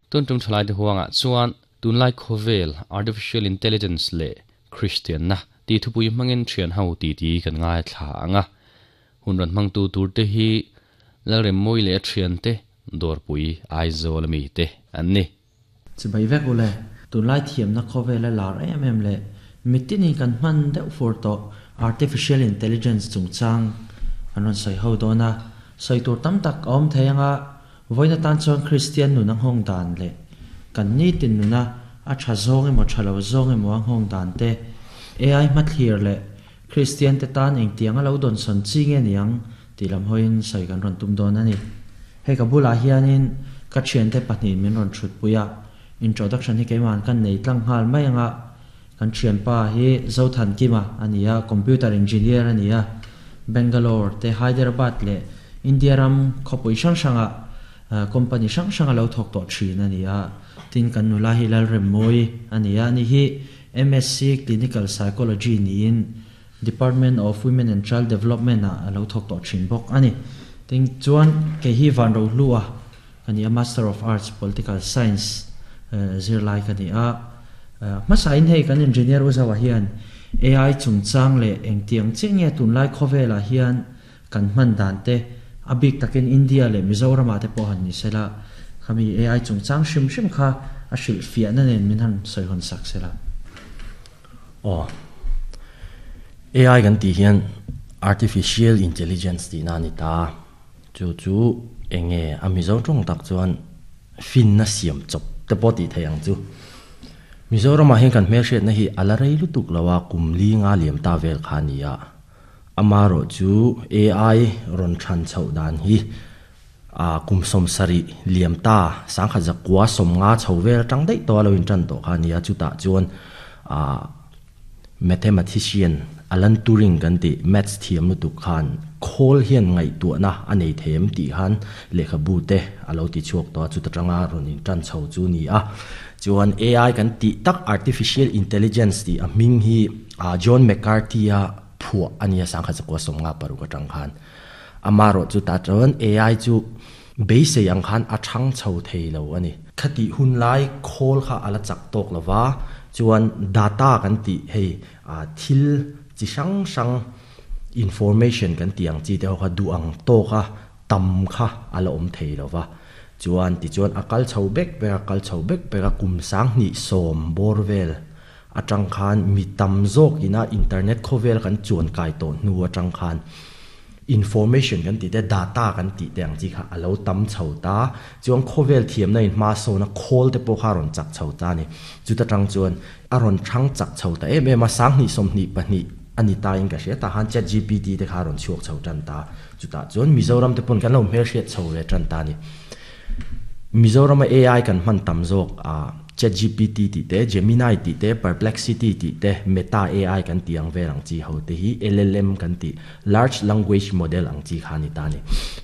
Tun tum thalaite huangah chuan tunlai khawvel Artificial Intelligence leh Kristianna tih thupui hmangin thian ho titi kan ngaithla ang a. Hun rawn hmangtu turte hi Lalremmawi leh a thiante Dawrpui Aizawl ami te an ni. Chibai vek u le, tunlai thiamna khawvela lar em em leh mitinin kan hman deuh fur tawh Artificial Intelligence chungchang kan rawn sawi ho dawn a, sawi tur tam tak a awm thei anga vawiin atan chuan Kristian nun a nghawng dan leh kan nitin nuna a tha zawng emaw tha lo zawng emaw a nghawng dan te, AI hmathlir leh Kristian te tan engtiang a lo dawnsawn chi nge niang tih lam hawiin sawi kan rawn tum dawn a ni. Hei ka bulah hianin ka thiante pahnihin min rawn thutpui a, introduction hi keimahan kan nei tlang nghal mai anga kan thianpa hi Zothankima a ni a, computer engineer a ni a, Bangalore te Hyderabad leh India ram khawpui hrang hrangah company hrang hrang a lo thawk tawh thin a ni a, tin kan nula hi Lalremmawi a ni a, ani hi MSc Clinical Psychology niin Department of Women and Child Development ah a lo thawk tawh thin bawk a ni. Tin chuan kei hi Van Rohlu a ka ni a, Master of Arts, Political Science, zirlai ka ni a. Hmasain hei kan Engineer U Zaua hian AI chungchang leh engtiang chiah nge tunlai khawvelah hian kan hman dan te, a bik takin India leh Mizoram ah te pawh han ni sela, khami AI chungchang hrim hrim kha a hrilhfiahna nen min han sawi hawn sak sela. Aw. AI kan tih hian Artificial Intelligence tihna a ni ta. Chu chu eng nge a Mizo tawng tak chuan finna siam chawp te pawh tih theih ang chu. Mizoramah hian kan hmelhriatna hi a la rei lutuk lo a, kum li nga liam ta vel kha a ni a. Amaherawhchu AI rawn than chhoh dan hi A kum sawmsarih liam ta sangkhat zakua sawmnga chho vel atang daih tawh a lo intan tawh kha a nia, chutah chuan ah mathematician Alan Turing kan tih maths thiam lutuk khan khawl hian ngaihtuahna a nei thei em tih khan lehkhabu te a lo ti chhuak tawh a, chuta tanga rawn intan chho chu a ni a. Chuan AI kan tih tak Artificial Intelligence tih a hming hi John McCarthy-a phuah a nia sangkhat zakua sawmnga paruk atang khan. Amaherawh chu tah chuan AI chu beisei ang khan a thang chho thei lo a ni. Khatih hun lai khawl kha a la chak tawk lo va, chuan data kan tih hei thil chi hrang hrang information kan tih ang chi te ho kha duh ang tawka tam kha a la awm thei lo va. Chuan tichuan a kal chho bek bek a, kal chho bek bek a, kum sanghnih sawm bawr vel atang khan mi tam zawk ina internet khawvel kan chuan kai tawh hnu atang khan information kan tih te data kan tih te ang chi kha a lo tam chho ta chuan khawvel thiamna in hma sawn a khawl te pawh kha a rawn chak chho ta a ni chuta tang chuan a rawn thang chak chho ta em em a sanghnih sawmhnih pahnih a ni ta in ka hria tah khan chat gpt te kha a rawn chhuak chho tan ta chutah chuan Mizoram te pawn kan lo hmelhriat chho ve tan ta a ni Mizorama AI kan hman tam zawk a. ChatGPT tih te, Gemini tih te, Perplexity tih te, Meta AI kan tih ang vel ang chi ho te hi LLM kan tih, Large Language Model ang chi kha a ni ta a ni.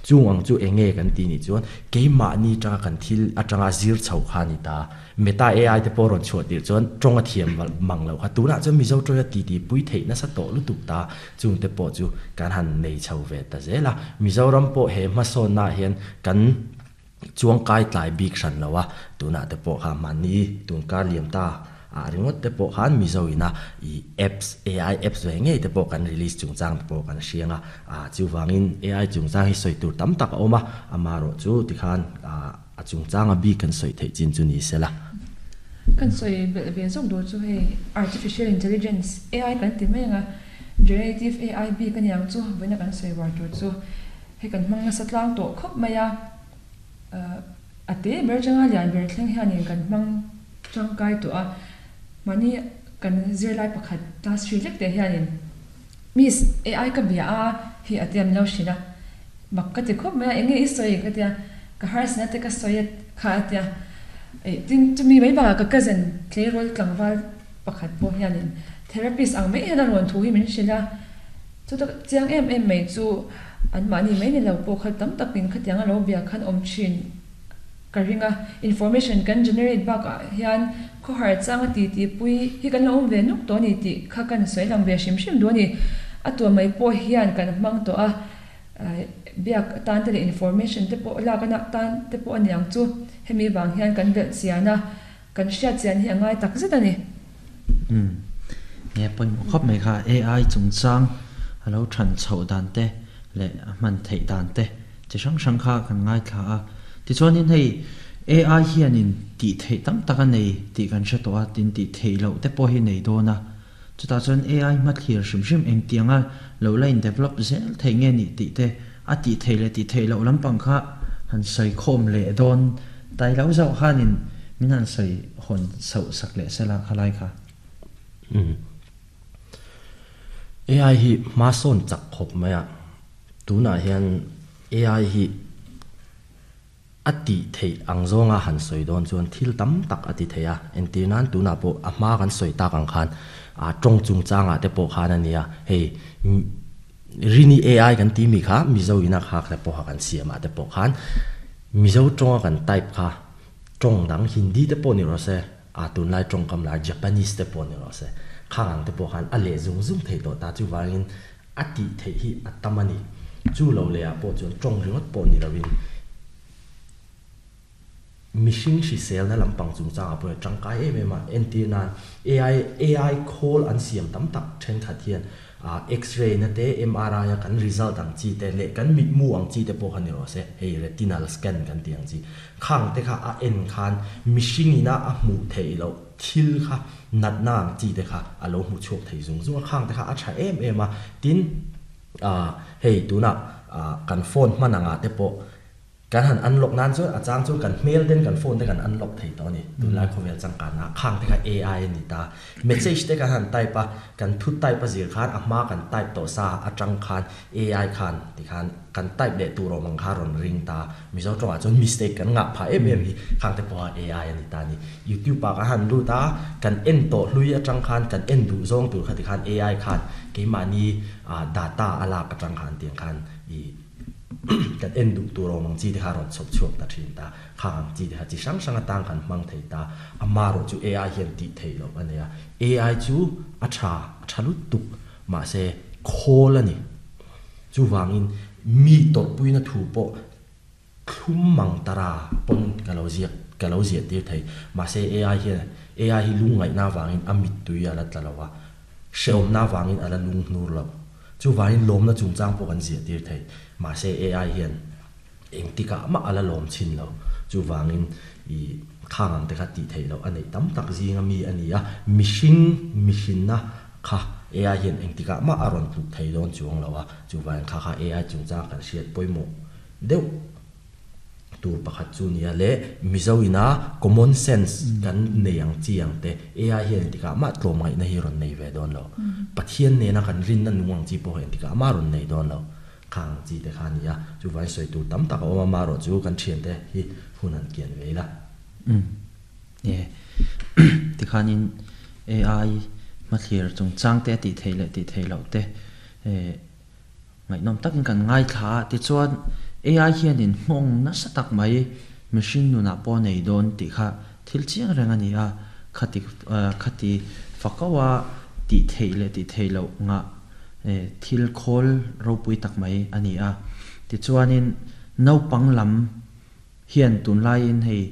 Chung ang chu eng nge kan tih nih chuan keimahni atanga kan thil atanga zir chho kha a ni ta. Meta AI te pawh rawn chhuah tirh chuan tawng a thiam mang loh kha. Tunah chuan Mizo tawia titi pui theih nasa tawh lutuk ta. Chung te pawh chu kan han nei chho ve ta zel a. Mizoram pawh he hmasawnnaah hian kan. Chuang kai tlai bik hran lo a, tunah te pawh kha mahni tun kar liam ta ah ringawt te pawh khan Mizo ina i apps, AI apps ve ngei te pawh kan release chungchang te pawh kan hriang a, ah chuvangin AI chungchang hi sawi tur tam tak a awm a, amaherawh chu tikhan ah a chungchang a bik kan sawi theih chin chu ni sela. Kan sawi belh ve zawk duh chu hei Artificial Intelligence, AI, kan ti mai ang a, Generative AI bik a niang chu vawiina kan sawi var tur chu. Hei kan hmang nasa tlang tawh khawp mai a, a te ber atanga lian ber thleng hianin kan hmang tangkai tawh a, mahni kan zirlai pakhat class three lek teh hianin Miss AI ka bia a hi a tiam lo hrilh a, mak ka ti khawp mai a, enge i sawi ka tia, ka harsatna te ka sawi a kha a tia, tin chumi mai bakah ka cousin tleirawl tlangval pakhat pawh hianin therapist ang mai hian a rawn thu hi min hrilh a. Chuta chiang em em mai chu anmahni mai ni lo pawh kha tam takin khatiang a lo bia khan awm thin ka ring a. Information kan generate bakah hian khawhar changa ti ti pui hi kan lo awm ve nuk tawh a ni tih kha kan sawi lang ve hrim hrim duh a ni. A tuah mai pawh hian kan hmang tawh a. Biak atan te leh information te pawh lak a tan te pawh a ni ang chu. Hemi vang hian kan belh chian a, kan hriat chian hi a ngai tak zet a ni. Umm. Nge pawimawh khawp mai kha AI chungchang a lo than chhoh dan te leh a hman theih dan te chi hrang hrang kha kan ngaithla a. Tichuanin hei AI hianin tih theih tam tak a nei tih kan hre tawh a, tin tih theih loh te pawh hi nei dawn a. Chutah chuan AI hmathlir hrim hrim engtianga lo la in develop zel theih nge nih tih te a tih theih leh tih theih loh lampang kha han sawi khawm leh dawn tai lo zauh khanin min han sawi hawn sauh sak leh sela khalai kha. Umm. AI hi hma sawn chak khawp mai a, tunah hian AI hi a tih theih ang zawnga han sawi dawn chuan thil tam tak a ti thei a, entir nan tunah pawh a hma kan sawi tak ang khan ah tawng chungchangah te pawh khan a nia, hei Rini AI kan tih mi kha Mizo ina kha te pawha kan siamah te pawh khan Mizo tawnga kan type kha tawng dang Hindi te pawh ni rawh se, A tunlai tawngkam lar Japanese te pawh ni rawh se, khang ang te pawh khan a leh zung zung thei tawh ta, chuvangin a tih theih hi a tam a ni. Chu lo leh ah pawh chuan tawng ringawt pawh ni loin mihring hriselna lampang chungchangah pawh hian tangkai em em a, entir nan AI AI khawl an siam tam tak thenkhat hian X-ray na te, MRI a kan result ang chi te leh kan mitmu ang chi te pawh kha ni rawh se, hei retinal scan kan tih ang chi khang te kha a en khan mihring ina a hmuh theih loh thil kha natna ang chi te kha a lo hmu chhuak thei zung zung a, khang te kha a tha em em a, tin hei tunah kan phone hman angah te pawh Kan han unlock nan chuan a chang chu kan hmel ten kan phone te kan unlock thei tawh a ni. Tunlai khawvel changkanna khang te kha AI a ni ta. Message te kan han type a, kan thu type a zir khan a hma kan type tawh sa atang khan AI khan tikhan kan type leh tur awm ang kha rawn ring ta. Mizo tawngah chuan mistake kan ngah phah em em hi khang te pawha AI a ni ta a ni. YouTube ah kan han lut a, kan en tawh hlui atang khan kan en duh zawng tur kha tikhan AI khan keimahni data a lak atang khan tiang khan i Kan en duh tur awm ang chi te kha rawn chhawp chhuak ta thin ta. Khang ang chi te kha chi hrang hrang atang kan hmang thei ta. Amarawh chu AI hian tih theih loh a nei a. AI chu a tha, a tha lutuk. Mahse, khawl a ni. Chuvangin mi tawrhpuina thu pawh thlum mang tara pawn ka lo ziak, ka lo ziah tir thei. Mahse, AI hian, AI hi lungngaihna avangin a mittui a la tla lo a. Hrehawmna avangin a la lunghnur lo. Chuvangin lawmna chungchang pawh kan ziah tir thei. Mahse AI hian engtikah mah a la lawm chhin lo. Chuvangin i khang ang te kha tih theih loh a neih tam tak zinga mi a ni a. Mihring mihrinna kha AI hian engtikah mah a rawn tluk thei dawn chuang lo a. Chuvangin kha kha AI chungchang kan hriat pawimawh deuh. Tur pakhat chu nia le, Mizo ina common sense kan nei ang chi ang te, AI hian engtikah mah tlawmngaihna hi rawn nei ve dawn lo. Pathian nena kan rinna nung ang chi pawh hi engtikah mah rawn nei dawn lo. Khang ang chi te kha a ni a, chuvangin sawi tur tam tak a awm a, marawh chu kan thiante hi hun han kian ve ila. Umm e, tikhanin AI hmathlir chungchang te a tih theih leh tih theih loh te eh. Ngaihnawm takin kan ngaithla a, tichuan AI hianin nghawng nasa tak mai mihring nunah pawh a nei dawn tih kha thil chiang reng a ni a, khati khati fakaua tih theih leh tih theih loh ngah thil khawl ropui tak mai a ni a. Tichuanin naupang lam hian tunlaiin hei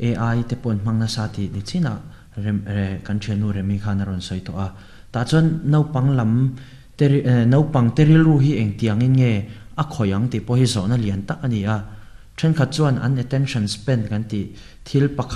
AI te pawh an hmang nasa tih ni chinah rem kan thiannu Remi khan a rawn sawi tawh a, tah chuan naupang lam Naupang te rilru hi engtiangin nge a khawih ang tih pawh hi zawhna lian tak a ni a. Thenkhat chuan an attention span kan tih thil pakhat.